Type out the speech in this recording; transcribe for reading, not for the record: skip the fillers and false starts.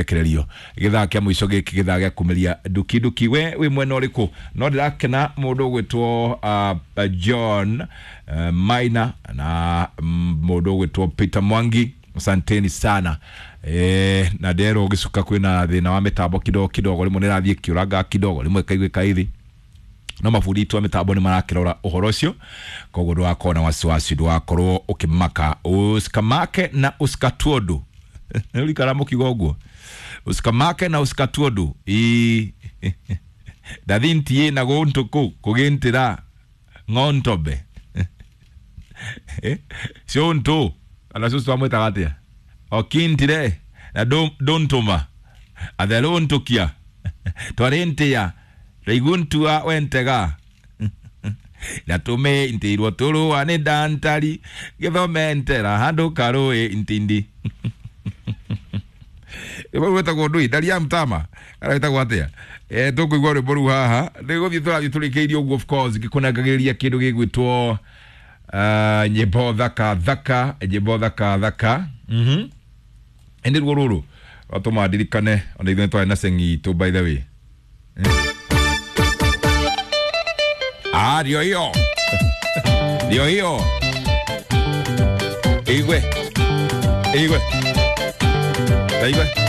Rekererio githaa kia muico giki githaa gia kumeria nduki nduki we wi mwena uriku no ndirakena mundu ugwitwo John Maina na mundu ugwitwo Peter Mwangi, asanteni sana. Na nderwo gicuka kwina thina wa mitambo kidogo kidogo, rimwe nirathie kiuraga kidogo, rimwe kaigwe kaithi, no mabundi itũ a mĩtambo nĩ marakĩrora ũhoro ũcio, koguo ndũgakorwo na wasiwasi, ndũgakorwo ũkĩmaka, usikamake na usikatuondu. Nĩũrikara mũkiuga ũguo, usikamake na usikatuondu ii ndathintiĩ na gũntũ kũ kũgĩntĩra ng'ontobe ciũntũ kana cũcũ amwĩtaga atĩa okintire na ndũntũma atherũntũkia twarĩntĩa raiguntua wentega natume ntirwo tũrũa nĩ ndantari gĩthomentera handũ karũĩ ntindi. Rwĩmbo rũu rwĩtagwo ndũi ndaria mtama kana rwĩtagwo atĩa? Tũkũigua rwĩmbo rũu haha nĩ gũthiĩ tũrathiĩ tũrĩkĩirie ũguo, of course ngĩkũnengagĩrĩria kĩndũ gĩgwĩtwo nyĩmbo thaka thaka, nyĩmbo thaka thaka. Ĩndĩ ruo rũrũ rwatũma ndirikane ona ithuĩ nĩ twarĩ na cengi itũ, by the way. Ah, ndio hiyo. Ndio hiyo. Igwe. Igwe. Igwe.